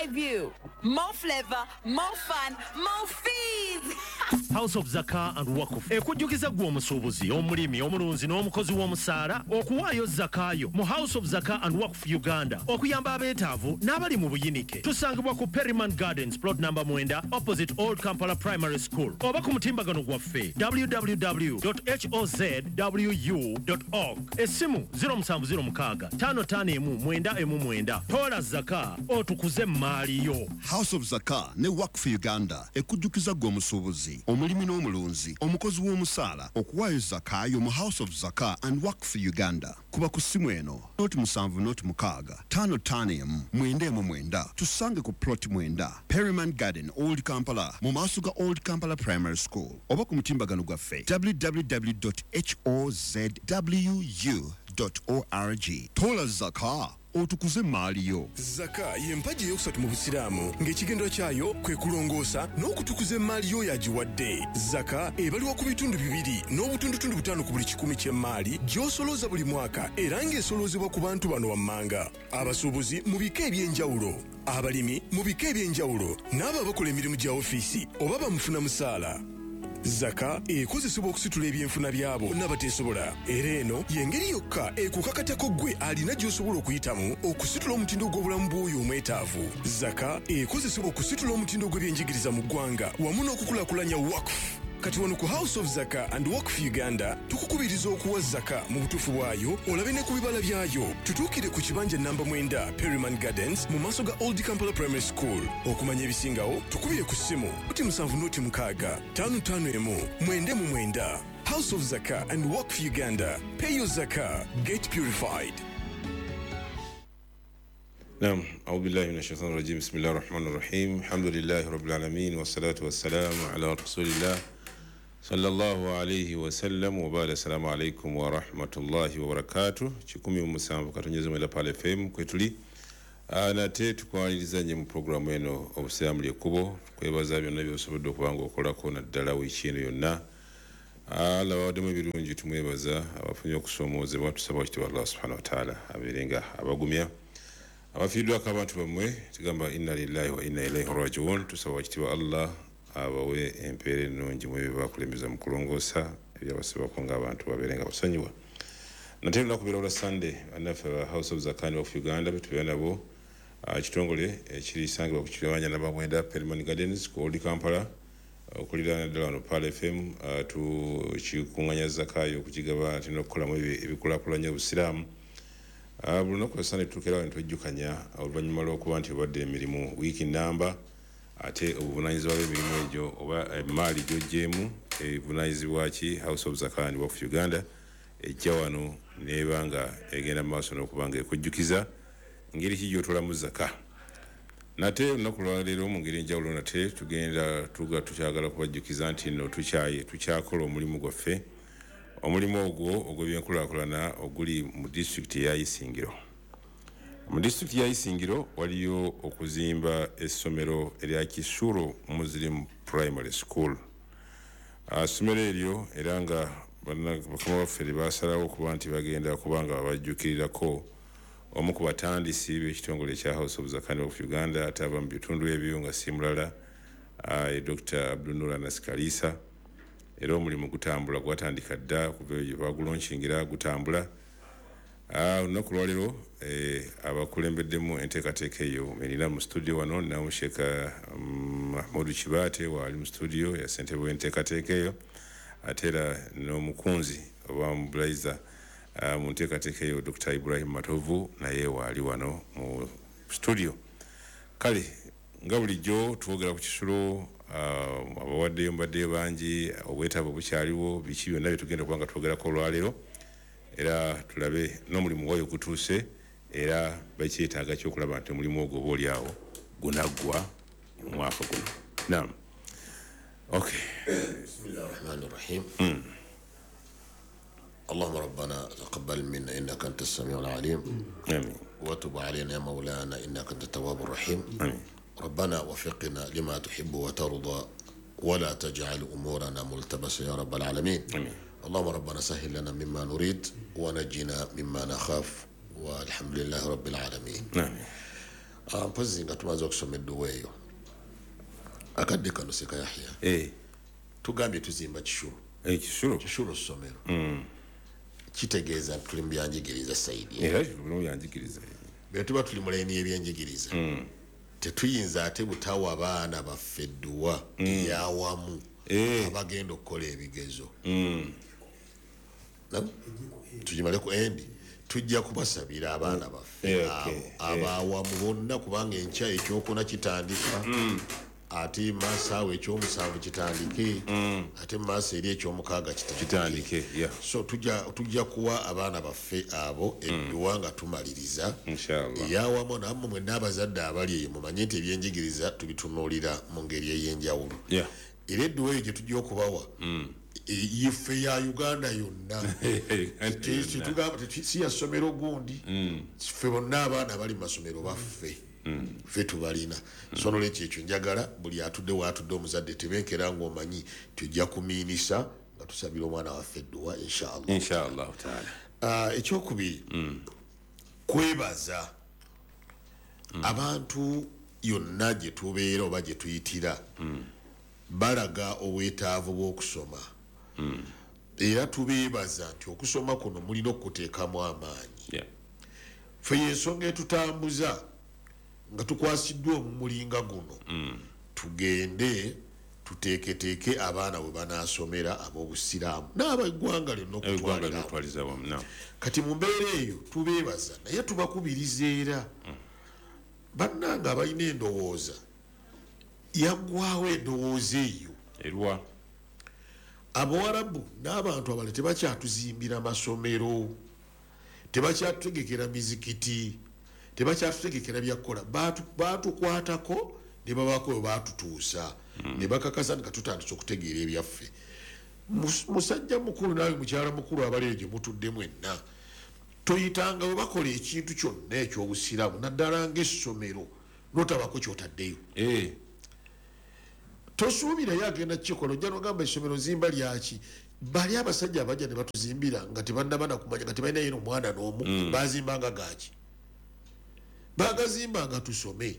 Skyview. More flavor, more fun, more fees. House of Zaka and Wakuf ekujjukiza ggwe omusuubuzi, omulimi, omulunzi n'omukozi w'omusaala okuwaayo zakaayo mu House of Zaka and Wakuf Uganda okuyamba abeetaavu n'abali mu buyinike. Tusangibwa ku Perryman Gardens, plot number 9, opposite Old Kampala Primary School, oba ku mutimbagano gwaffe www.hozwu.org. Essimu 0706 551 919. Toola zaka otukuze emmaali yo. House of Zaka ne Wakf Uganda ekujjukiza ggwe omusuubuzi, omulimi n'omulunzi, omukozi w'omusaala okuwaayo zakaayo mu House of Zaka and Wakf Uganda. Kuba ku ssimu eno 070 651 919. Tusange ku plot 9, Perryman Garden, Old Kampala, mu maaso ga Old Kampala Primary School, oba ku mutimbagano gwaffe www.hozwu.org. Toola zaka otukuze emmaali yo. Zaka y'empagi eyokusatu mu busiraamu, ng'ekigendero kyayo kwe kulongoosa n'okutukuza emmaali y'oyo agiwadde. Zaka ebaliwa ku bitundu 2.5 ku buli 100 ky'emmaali gy'osolooza buli mwaka, era ng'esoloozebwa ku bantu bano wammanga: abasuubuzi mu bika eby'enjawulo, abalimi mu bika eby'enjawulo, n'abo abakola emirimu gya ofiisi oba bamufuna musaala. Zaka ekozesebwa okusitula ebyenfuna byabo n'abateesobola, era eno y'engeri yokka ekukakatako ggwe alina gy'osobola okuyitamu okusitula omutindo gw'obulamu bw'oyo omwetaavu. Zaka ekozesebwa okusitula omutindo gw'ebyenjigiriza mu ggwanga wamu n'okukulaakulanya Wakf. Kati wano ku House of Zaka and Wakf Uganda tukukubiriza okuwa zaka mu butuufu bwayo olabe ne ku bibala byayo. Tutuukire ku kibanja namba 9, Perryman Gardens, mu maaso ga Old Kampala Primary School. Okumanya ebisingawo tukubire ku ssimu 0706 551 99. House of Zaka and Wakf Uganda. Pay your zaka, get purified. نعم، أعوذ بالله من الشيطان الرجيم، بسم الله الرحمن الرحيم، الحمد لله رب العالمين، والصلاة والسلام على رسول الله صلى الله عليه وسلم، وبعد، السلام عليكم ورحمة الله وبركاته. 17.1 Pale FM kwetuli nate tukwaniriza nnyo mu pulogulaamu eno Obusiraamu Lyekkubo. Kwebaza byonna by'osobodde okuba nga okolako naddala wiiki eno yonna. Allah bawaddemu ebirungi, tumwebaza. Abafunye okusoomoozebwa tusaba wakitiibwa Allah subhanahu wataala abeere nga abagumya. Abafiiriddwako abantu bammwe tugamba inna lillahi wa inna ilaihi rajiun. Tusaba wakitiibwa Allah abawe empeera ennungi mu ebyo bakulembeza mu kulongoosa ebyabasibwako ng'abantu babeere nga basonyiwa. Nate lunaku beera olwa Sunday, bannaffe aba House of Zakani of Uganda betubeera nabo, kitongole ekirisangibwa ku kibanja namba 9, Perryman Gardens, ku Old Kampala, okuliraana ddala wano Pearl FM. Tukikuŋŋanya zakaayo okukigaba ate n'okukolamu ebikulaakulanya obusiraamu. Buli lunaku lwa Sunday tutuukirawo ne twejjukanya oluvannyuma lw'okuba nti obadde emirimu wiiki nnamba, ate obuvunaanyizibwa bw'emirimu egyo oba emaali gy'oggyeemu evunaanyizibwa ki? House of Zakah and Waqf Uganda ejja wano n'eba nga egenda mu maaso n'okuba nga ekujjukiza ngeri ki gy'otolamu zaka. Nate olunaku lwaleero mu ngeri enjawulo nate tugenda tuga tukyagala kubajjukiza nti nno tukyakola omulimu gwaffe, omulimu ogwo ogw'ebyenkulaakulana oguli mu disitulikiti ya Isingiro. Mu disitulikiti ya Isingiro waliyo okuzimba essomero erya Kisuro Muslim Primary School. Essomero eryo era nga bakama baffe lye baasalawo okuba nti bagenda kuba nga babajjukirirako omu ku batandisi b'ekitongole ekya House of Zakani of Uganda ate ava mu bitundu ebyo nga si mulala, Dr. Abdulnur Anas Kalisa. Era omulimu gutambula, gwatandika dda kuva eyo gye bagulonkingira, gutambula. Olunaku lwaleero abakulembeddemu enteekateeka eyo erina mu studio wano ninamu Sheikh Mahmudu Kibaate waali mu studio ya ssentebe w'enteekateeka eyo, ate era n'omukunzi oba mobilizer mu nteekateeka eyo Dr. Ibrahim Matovu naye waali wano mu studio. Kale nga bulijjo twogera ku kisulo, abawaddeyo mbaddeyo bangi, obwetaavu bukyaliwo, biki byonna bye tugenda okuba nga twogerako olwaleero, era tulabe n'omulimu gwayo gutuuse, era bakyetaaga kyokulaba nti omulimu ogwo oba oli awo gunaggwa omwaka guno. Naam, okay. بسم الله الرحمن الرحيم. اللهم ربنا تقبل منا إنك أنت السميع العليم. آمين. وتب علينا يا مولانا إنك أنت التواب الرحيم. آمين. ربنا وفقنا لما تحب وترضى ولا تجعل أمورنا ملتبسة يا رب العالمين. آمين. اللهم ربنا سهل لنا مما نريد ونجنا مما نخاف، والحمد لله رب العالمين. آمين. Mpozi nga tumaze okusoma edduwa eyo, akadde kano Seka Yahya, tugambye tuzimba kisulo. Ekisulo. Kisulo ssomero, kitegeeza nti tuli mu byanjigiriza side. Era tuli mu byanjigiriza. Bwe tuba tuli mu layini y'ebyenjigiriza, tetuyinza ate butawa baana baffe edduwa eyawamu abagenda okukola ebigezo. Tugimale ku endi, tujja kubasabira abaana baffe abawamu bonna, kubanga enkya ekyokuna kitandika, ate maaso awo ekyomusanvu kitandike, ate mumaaso eri ekyomukaaga kitandike. So tujja kuwa abaana baffe abo edduwa nga tumaliriza eyawamu. Nammwe mwenna abazadde abali eyo mumanye nti ebyenjigiriza tubitunuulira mu ngeri ey'enjawulo. Era edduwa eyo gye tujja okubawa ife ya Uganda yonna, si ya ssomero gundi, ffe bonna abaana abali mu masomero baffe, ffe tubalina. So nolwekyo ekyo njagala buli atudde waatudde omuzadde tebenkera ng'omanyi tujja kumiinisa nga tusabira omwana waffe edduwa inshallah. Inshallah taala. Ekyokubiri, kwebaza abantu yonna gye tubeera oba gye tuyitira, balaga obwetaavu bw'okusoma. Era tubeebaza nti okusoma kuno mulina okuteekamu amaanyi. Ffe y'ensonga etutambuza nga tukwasiddwa omumulinga guno, tugende tuteeketeeke abaana bwe banaasomera ab'obusiraamu n'abeggwanga lyonna okutwalira. Kati mu mbeera eyo tubeebaza, naye tubakubiriza era bannange abalina endowooza yaggwawo endowooza eyo. Erwa Abawarabu n'abantu abalala tebakyatuzimbira masomero, tebakyatutegekera mizikiti, tebakyatutegekera byakukola. Baatukwatako ne babaako we baatutuusa, ne bakakasa nga tutandise okutegeera ebyaffe. Musajja mukulu naawe mukyala mukulu abali eyo gye mutudde mwenna, toyitanga we bakola ekintu kyonna eky'obusiraamu naddala ng'essomero n'otabako ky'otaddeyo. Tosuubirayo agenda kukikola, ojja n'ogamba essomero nzimba lyaki? Bali abasajja abajja ne batuzimbira nga tebannaba nakumanya, nga tebalinayo n'omwana n'omu, bazimbanga gaaki? Bagazimbanga tusome.